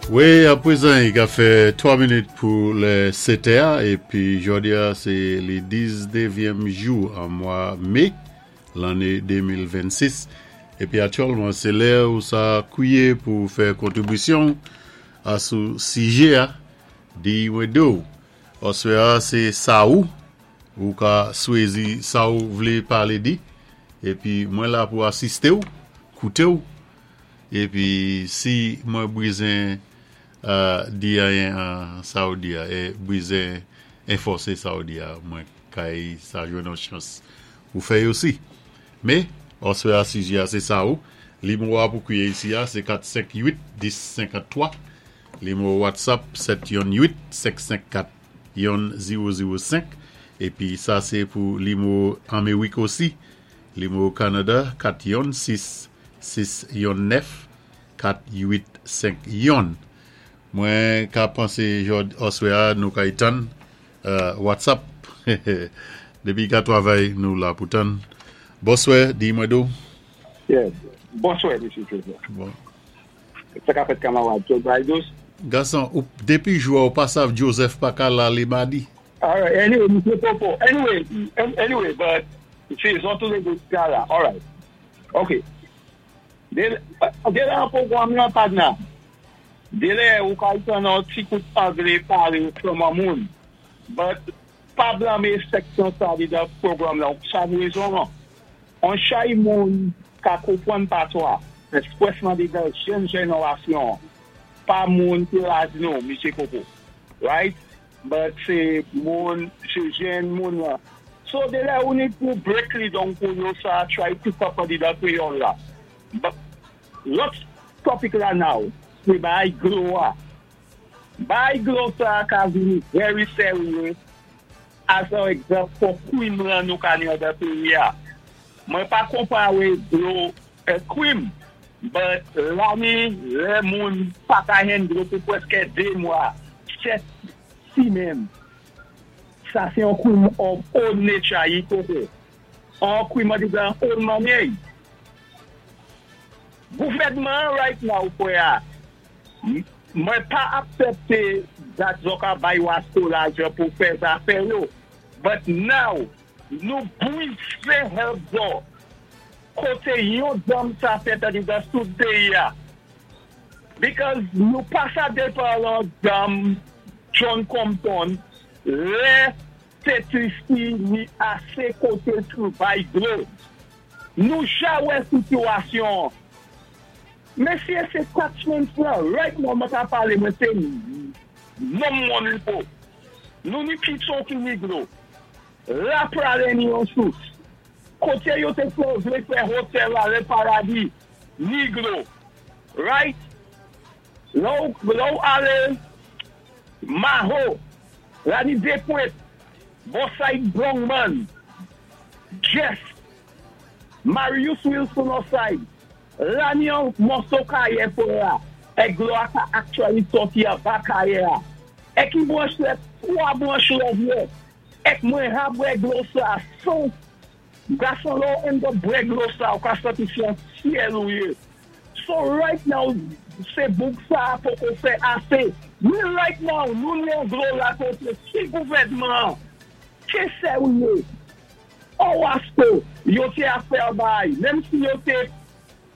Wi, apwézan, i ka fè 3 minit pou lè 7 è, épi jòdi-a sé li 19èm jou an mwa mé lanné 2026. Épi aktyèlman sé lè ou sa kwié pou fè kontribisyon a sou sijè-a di mwen di-w. Oswè-a sé sa ou ka swézi sa ou vlé palé di, épi mwen la pou asisté-w, kouté-w. Épi si mwen bizen di anyen an sa ou di-a, é bizen enfòsé sa ou di-a, mwen kay sa jwenn yon chans pou fè osi. Mé, oswè-a sijè-a sé sa ou, nimewo-a pou kwié isi-a sé 4 5 8 10 53, nimewo WhatsApp 7 1 8 5 5 4 1 0 0 5, épi sa sé pou nimewo Anméwik osi, nimewo Kanada 4 1 6 6 1 9 4 8 5 1. Mwen ka pansé jòd oswè-a nou kay tann WhatsApp dépi ka twavay nou la pou tann. Bonswè, di mwen do. Yeah. Bonswè, Mesye Joseph. Bon. Sa ka fèt kamarad, Joe Biden? Gason, ou, dépi jou-a ou pa sav Joseph pa ka la lé madi. Alright, anyway, Mesye Popo. Anyway, but se zon tou lé dé ka la. Alright. Ok. Dé la an pwogram lan padna. Dé lè ou ka tann an ti kout anglé palé kòman moun. But pa blanmé seksyon sa di dan pwogram lan. Sa rezon an. An chay moun ka konpwann patwa. Espresman di dan jèn jenerasyon. Pa moun ki laj nou, Mesye Popo. Right? But sé moun, sé jèn moun la. So dé lè ou ni pou break li donk pou yo sa try pick up an di dan kwéyòl la. But lòt topic la now, sé bay glo-a. Bay glo sa ka vini very serious as an egzanp pou kwim lan nou ka ni an dan péyi-a. Mwen pa konparé dlo ak kwim, but la ni lè moun pa ka jwenn dlo pou pwèskè 2 mwa, 7 simenn. Sa sé yon kwim of own nature yi koko. An kwim an di dan own mannyè. Gouvèdman right now fwè-a, mwen pa aksepté dat zo ka bay wasko lajan pou fè zafè yo. But now, nou bwize help zo. Koté yon dam sa fèt an di dan sou péyi-a. Because nou pa sa depan lan dam John Compton, lè Saint-Lucie ni asé koté tou bay dlo. Nou ja wè sitiyasyon. Mesye, sé catchment lan, right now mwen ka palé mwen sé nonm Mon Repos. Nou ni Pitson ki ni dlo. La pralé ni yon sous. Koté yo té fè vlé fè hotel la Le Paradis, ni dlo. Right? Lò ou alé Maho, la ni Depwet, bò side Brongman, Jeff, Marius Wilson side, la ni yon mòso kayè pou la, é dlo a ka actually sòti anba kayè-a. É ki branch lè, 3 branch lè vye, é mwen ha bwè dlo sa, son, gason lò end up bwè dlo sa, ou ka sòti sou syèl ou yé. So right now, sé bouk sa poko fè asé. Mi right now, nou ni an dlo la koté, si gouvèdman, ké sèwye, ou wasko, yo té a fè bay, menm si yo té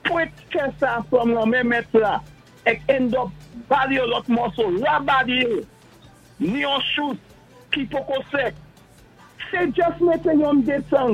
pwet fè sa from lan men mèt la, ek end up bali yo lòt mòso, la bali yo, ni yon chou ki poko sèk. Sé just mété yon detan.